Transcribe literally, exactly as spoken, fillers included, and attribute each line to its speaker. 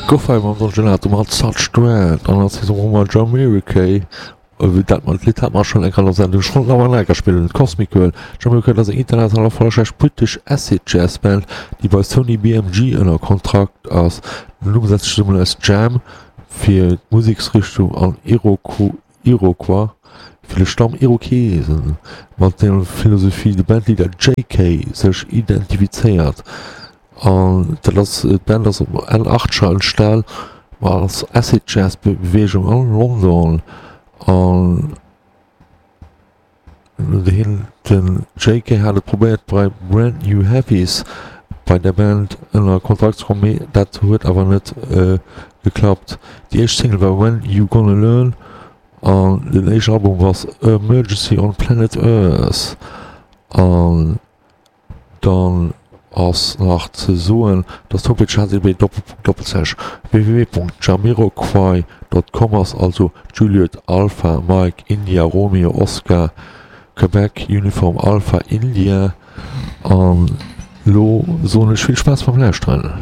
Speaker 1: Gouf hei mam Don Gelato mat Such Dread an als Saison hu mer Jamiroquai, wéi dat mat Lidd hat mer schonn eng Kéier an der Sendung schonn awer nach eng Kéier spillen, Cosmic Girl. Jamiroquai ass eng international erfollegräich britesch Acid Jazz Band, déi bei Sony B M G ënner Kontrakt ass. Den Numm setzt sech zesummen aus Jam fir d'Museksrichtung an Iroquois fir de Stamm Irokesen, mat deem Philosophie de Bandleader Jay Kay sech identifizéiert. An dat ass, d'Band ass op Enn Achtscher entstan als Acid Jazz Beweegung an London an hien, den Jay Kay hat et probéiert bei Brand New Heavies bei der Band ënner Kontrakt ze kommen, mee dat huet awer net geklappt. Déi éischt Single war When You Gonna Learn an den éischten Album ass Emergency on Planet Earth. An dann ass nach ze soen, dass d'Homepage h t t p doppelslash w w w punkt jamiroquai dot com ass, also Juliet Alpha Mike India Romeo Oscar Quebec Uniform Alpha India. An lo soen ech vill Spaass beim Lauschteren.